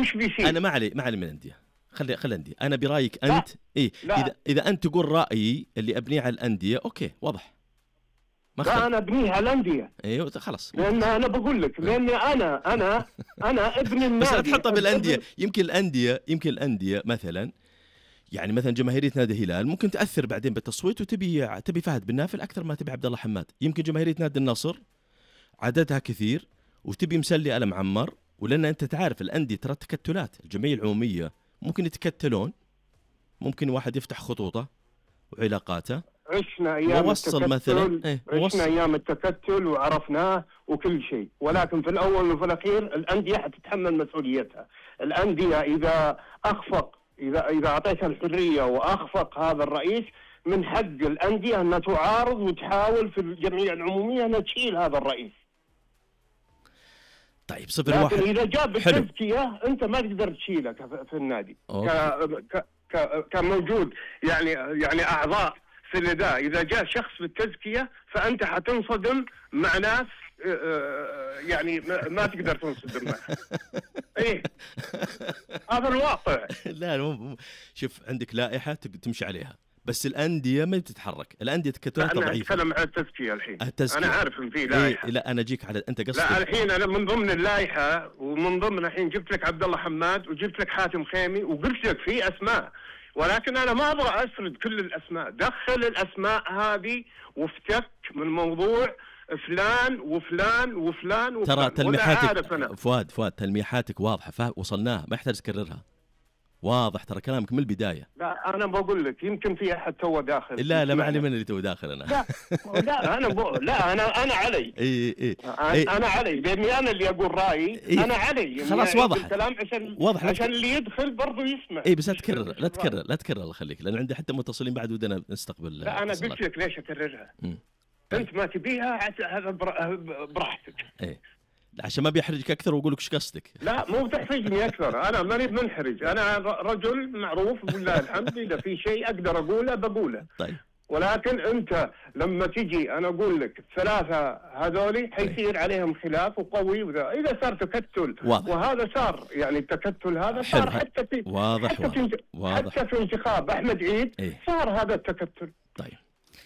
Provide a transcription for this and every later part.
وش بيصير؟ انا ما علي من الانديه، خلي الانديه. انا برايك انت اذا انت تقول رايي اللي ابنيه على الانديه، اوكي واضح. لا انا ابنيها على الانديه. ايوه خلاص، لان انا بقول لك، لاني انا ابن النادي. بس لا تحطها بالانديه. يمكن الانديه مثلا، يعني مثلا جماهيريه نادي الهلال ممكن تاثر بعدين بالتصويت وتبي فهد بن نافل اكثر ما تبي عبد الله حماد. يمكن جماهيريه نادي النصر عددها كثير وتبي مسلي آل معمر، ولان انت تعرف الانديه ترى تكتلات. الجمعيه العموميه ممكن يتكتلون، ممكن واحد يفتح خطوطه وعلاقاته. عشنا ايام التكتل مثلا عشنا ايام التكتل وعرفناه وكل شيء، ولكن في الاول وفي الاخير الانديه حتتحمل مسؤوليتها. الانديه اذا اخفق، اذا اعطيتها الحريه واخفق هذا الرئيس، من حق الانديه انها تعارض وتحاول في الجمعيه العموميه انها تشيل هذا الرئيس. طيب 0-1. لكن اذا جاب بالتزكيه انت ما تقدر تشيله في النادي كموجود، يعني اعضاء في الاداء. اذا جاء شخص بالتزكيه فانت حتنصدم مع ناس يعني ما تقدر تنصدم معه. ايه هذا الواقع. لا شوف، عندك لائحه تمشي عليها، بس الانديه ما تتحرك. الانديه تكتلات ضعيفه. انا اتكلم عن التزكيه الحين. انا عارف ان في لائحه. لا انا اجيك على انت قصدك. لا الحين انا من ضمن اللائحه ومن ضمن الحين جبت لك عبد الله حماد وجبت لك حاتم خيمي وقلت لك في اسماء، ولكن انا ما ابغى اسرد كل الاسماء. دخل الاسماء هذه وافتك من موضوع فلان وفلان وفلان وفلان. ترى تلميحاتك فؤاد تلميحاتك واضحه، وصلناها، ما يحتاج تكررها. واضح ترى كلامك من البداية. لا أنا بقول لك يمكن في أحد تو داخل. لا ما علي من اللي تو داخل أنا. لا أنا علي. أنا علي، لأني أنا اللي أقول رأيي. أنا علي. خلاص واضح الكلام عشان اللي يدخل برضو يسمع. بس لا تكرر الله يخليك، لأن عندي حتى متصلين بعد ودنا نستقبل. لا أنا قلت لك ليش أكررها. أنت ما تبيها هذا براحتك. عشان ما بيحرجك أكثر وأقول لك إيش قصدك. لا مو بتحرجني أكثر، أنا ماني منحرج، أنا رجل معروف بالله الحمد. إذا في شيء أقدر أقوله بقوله. طيب. ولكن أنت لما تجي أنا أقول لك الثلاثة هذولي حيصير عليهم خلاف وقوي، وذا إذا صار تكتل واضح. وهذا صار يعني التكتل هذا صار حتى في حتى في انتخاب أحمد عيد صار هذا التكتل. طيب.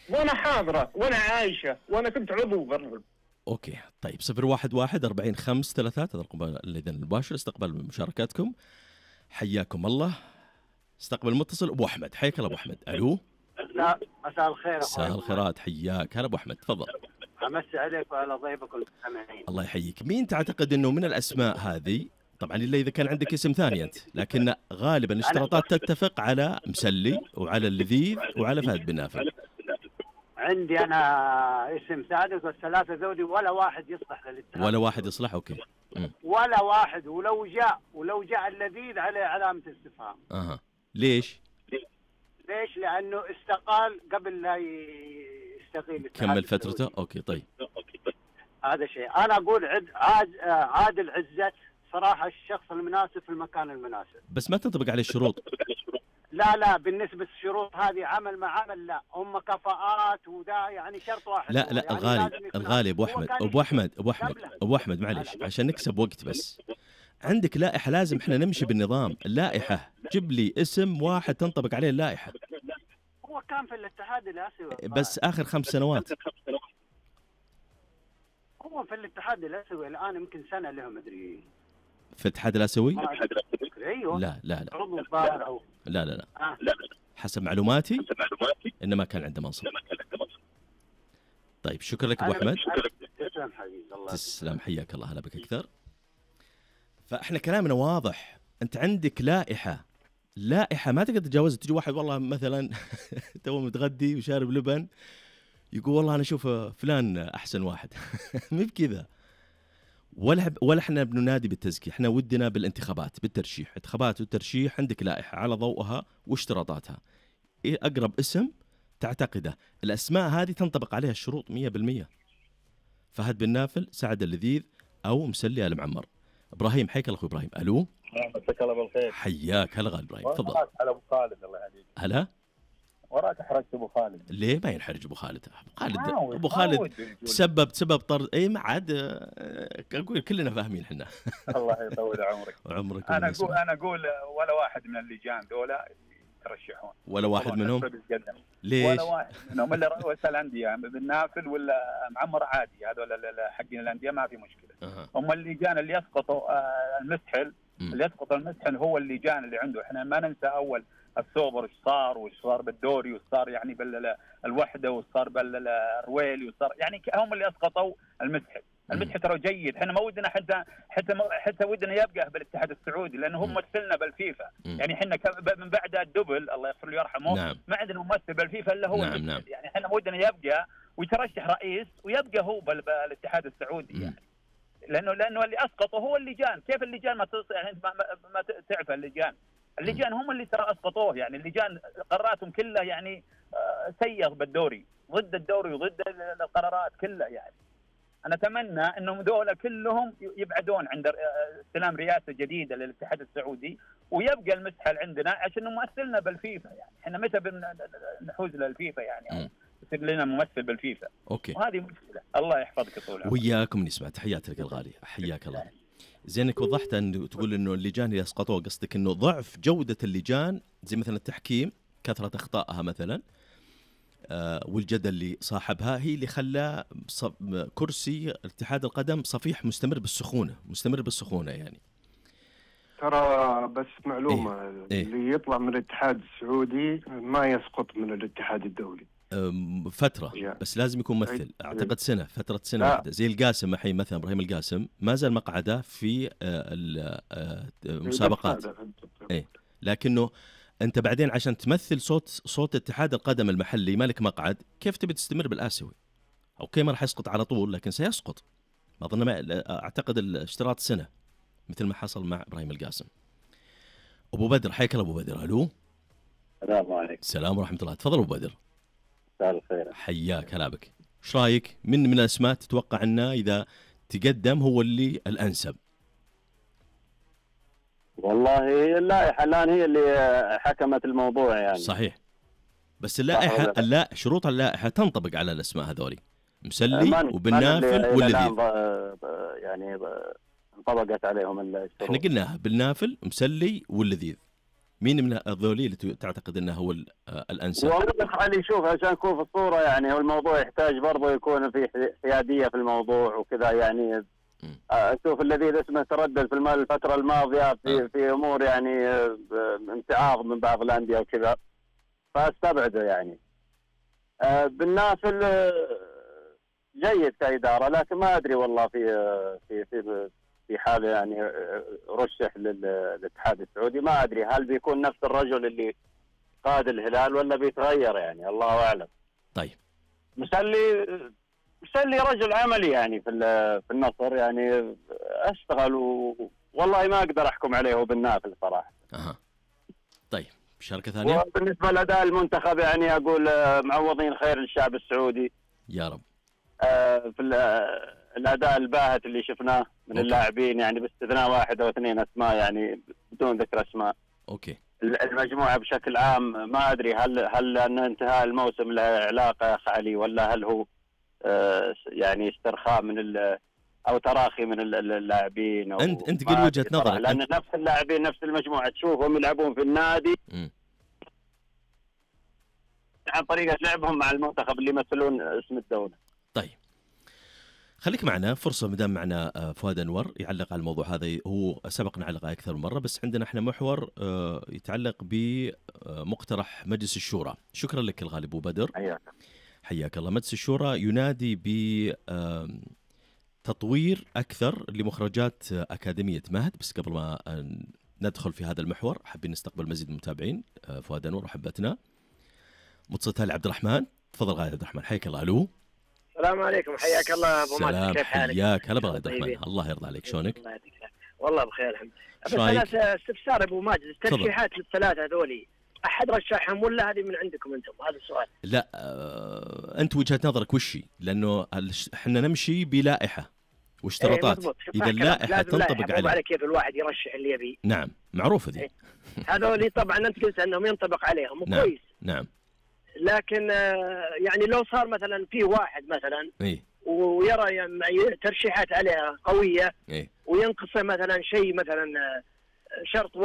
وأنا حاضرة وأنا عايشة وأنا كنت عضو برضه. اوكي طيب 011-40-533 هذا الرقم الاذن المباشر. استقبل مشاركاتكم، حياكم الله. استقبل المتصل ابو احمد. حياك الله ابو احمد. الو. مساء الخير. مساء الخيرات، حياك. هلا ابو احمد، تفضل. امسي عليك وعلى ضيفك المستمعين. الله يحييك. مين تعتقد انه من الاسماء هذه، طبعا الا اذا كان عندك اسم ثاني انت، لكن غالبا الاشتراطات تتفق على مسلي وعلى اللذيذ وعلى فهد بن نافل. عندي أنا اسم ثالث والثلاثة ذولي ولا واحد يصلح للاتحاد. ولا واحد يصلح. أوكي. ولا واحد. ولو جاء اللذيذ عليه علامة استفهام. ليش؟ لأنه استقال قبل لا يستقيل. كمل فترته. أوكي طيب. هذا شيء. أنا أقول عادل عزت صراحة الشخص المناسب في المكان المناسب. بس ما تنطبق عليه الشروط. لا بالنسبة للشروط هذه عمل مع عمل، لا هم كفاءات ودا يعني شرط واحد. لا يعني الغالي ابو احمد معليش عشان نكسب وقت. بس عندك لائحة لازم احنا نمشي بالنظام. اللائحة جيب لي اسم واحد تنطبق عليه اللائحة. هو كان في الاتحاد الآسيوي بس آخر 5 سنوات. هو في الاتحاد الآسيوي الآن يمكن سنة له مدري. في الاتحاد الآسيوي؟ ايوه. لا عضو الظاهر او لا حسب معلوماتي انما كان عنده منصب. طيب شكرا لك ابو احمد. تسلم حبيبي. الله تسلم، حياك الله. هلا بك اكثر. فاحنا كلامنا واضح. انت عندك لائحه ما تقدر تتجاوزها. تجي واحد والله مثلا تو متغدي وشارب لبن يقول والله انا اشوف فلان احسن واحد. مو بكذا. ولا احنا بننادي بالتزكية، احنا ودنا بالانتخابات بالترشيح. انتخابات والترشيح عندك لائحة على ضوءها واشتراطاتها. ايه اقرب اسم تعتقده. الاسماء هذه تنطبق عليها الشروط 100%. فهد بن نافل، سعد اللذيذ، او مسلي آل معمر. ابراهيم، حياك الله اخوي ابراهيم. الو. مساك الله بالخير. حياك. هلا غالي ابراهيم، تفضل. على ابو خالد. الله يهديك. هلا وراك حرجت ابو خالد. ليه ما ينحرج ابو خالد؟ ابو عاود خالد تسبب طرد اي ما عاد اقول كلنا فاهمين احنا. الله يطول عمرك. وعمرك. انا اقول ولا واحد من اللجان دولة يترشحون، ولا واحد منهم. ليش؟ ولا واحد منهم الا رؤساء الانديه بالنافل ولا معمر عادي، هذول حقين الانديه ما في مشكله. هم اللجان اللي يسقطوا المسحل، اللي يسقط المسحل هو اللجان اللي عنده. احنا ما ننسى اول السوبر وش صار بالدوري وش صار يعني بالوحده وش صار بالرويلي وش صار، يعني هم اللي اسقطوا المسحل. المسحل ترى جيد، احنا ما ودنا حتى ودنا يبقى بالاتحاد السعودي لانه هم مثلنا بالفيفا. يعني احنا من بعد الدبل الله يغفر له ويرحمه ما عندنا ممثل بالفيفا الا هو. يعني احنا ما ودنا يبقى ويترشح رئيس ويبقى هو بالاتحاد السعودي يعني. لانه اللي اسقطوا هو اللجان. كيف اللجان ما يعني ما تعرف اللجان هم اللي ترى اسقطوه. يعني اللجان قراراتهم كلها يعني سيئه بالدوري، ضد الدوري وضد القرارات كلها. يعني انا اتمنى انهم دول كلهم يبعدون عند استلام رئاسه جديده للاتحاد السعودي ويبقى المسحل عندنا عشان نمثلنا بالفيفا. يعني احنا متى بنحوز للفيفا يعني يصير لنا ممثل بالفيفا. اوكي وهذه مشكله. الله يحفظك طول عمرك. وياكم نسمع. تحياتي لك الغالي، حياك الله. زينك وضحت أن تقول إنه اللجان اللي أسقطوه قصدك إنه ضعف جودة اللجان، زي مثلا التحكيم كثرة أخطائها مثلا، والجدل اللي صاحبها هي اللي خلى كرسي اتحاد القدم صفيح مستمر بالسخونة يعني. ترى بس معلومة اللي يطلع من الاتحاد السعودي ما يسقط من الاتحاد الدولي فترة بس لازم يكون ممثل. أعتقد فترة سنة واحدة. زي القاسم الحين مثلا، إبراهيم القاسم ما زال مقعده في المسابقات لكنه أنت بعدين عشان تمثل صوت اتحاد القدم المحلي مالك مقعد، كيف تبي تستمر بالآسيوي؟ أوكي ما راح يسقط على طول لكن سيسقط. ما أظن أعتقد الاشتراط سنة مثل ما حصل مع إبراهيم القاسم. أبو بدر حياك الله. أبو بدر ألو. السلام عليكم. السلام ورحمة الله. تفضل أبو بدر. مساء الخير. حياك هلا بك. ايش رايك من الاسماء تتوقع انه اذا تقدم هو اللي الانسب؟ والله اللائحه الان هي اللي حكمت الموضوع يعني. صحيح. بس اللائحه شروط اللائحه تنطبق على الاسماء هذولي، مسلي وبالنافل واللذيذ. يعني انطبقت عليهم الشروط. احنا قلناها بالنافل مسلي واللذيذ. مين من هذولي اللي تعتقد انه هو الانسب؟ والله خلي نشوف عشان نكون في الصوره يعني. والموضوع يحتاج برضه يكون في حياديه في الموضوع وكذا يعني. اشوف الذي اسمه تردد في الفتره الماضيه في امور يعني امتعاض من بعض الانديه وكذا، فاستبعده يعني. بالنافل جيد كاداره، لكن ما ادري والله في حال يعني رشح للاتحاد السعودي، ما ادري هل بيكون نفس الرجل اللي قاد الهلال ولا بيتغير يعني، الله اعلم. طيب مسلي رجل عملي يعني في النصر يعني، اشتغل والله ما اقدر احكم عليه بالنافل صراحه. طيب مشاركه ثانيه. وبالنسبه لاداء المنتخب يعني اقول معوضين خير للشعب السعودي يا رب. في الاداء الباهت اللي شفناه من اللاعبين يعني، باستثناء واحد او اثنين اسماء يعني بدون ذكر اسماء. اوكي. المجموعه بشكل عام ما ادري هل ان انتهاء الموسم له علاقه يا اخ علي، ولا هل هو يعني استرخاء من او تراخي من اللاعبين. انت قل وجهه نظرك. لان نفس اللاعبين نفس المجموعه تشوفهم يلعبون في النادي عن طريقه لعبهم مع المنتخب اللي يمثلون اسم الدوله. طيب خليك معنا فرصه مدام معنا فؤاد انور يعلق على الموضوع هذا. هو سبق نعلق اكثر من مره، بس عندنا احنا محور يتعلق بمقترح مجلس الشورى. شكرا لك الغالي ابو بدر. حياك الله. مجلس الشورى ينادي بتطوير أكثر لمخرجات أكاديمية مهد. بس قبل ما ندخل في هذا المحور حابين نستقبل مزيد من المتابعين. فؤاد أنور وحبتنا متصل هالي عبد الرحمن. تفضل غالي عبد الرحمن حياك الله. ألو. السلام عليكم. حياك الله أبو ماجد. كيف حالك؟ حياك هلا عبد الرحمن. الله يرضى عليك. شلونك؟ والله بخير الحمد لله. بس أنا استفسار أبو ماجد، الترشيحات الثلاثة هذولي أحد رشحهم ولا هذه من عندكم أنتم؟ هذا السؤال. لا أنت وجهة نظرك وشي؟ لأنه إحنا نمشي بلائحة واشتراطات. إذا اللائحة تنطبق عليه. على كيف الواحد يرشح اللي يبي. نعم معروفة ذي. هذولي طبعا أنت قلت أنهم ينطبق عليهم وكويس. نعم. لكن يعني لو صار مثلا في واحد مثلا ويرى يعني ترشيحات عليها قويه وينقصه مثلا شيء مثلا شرط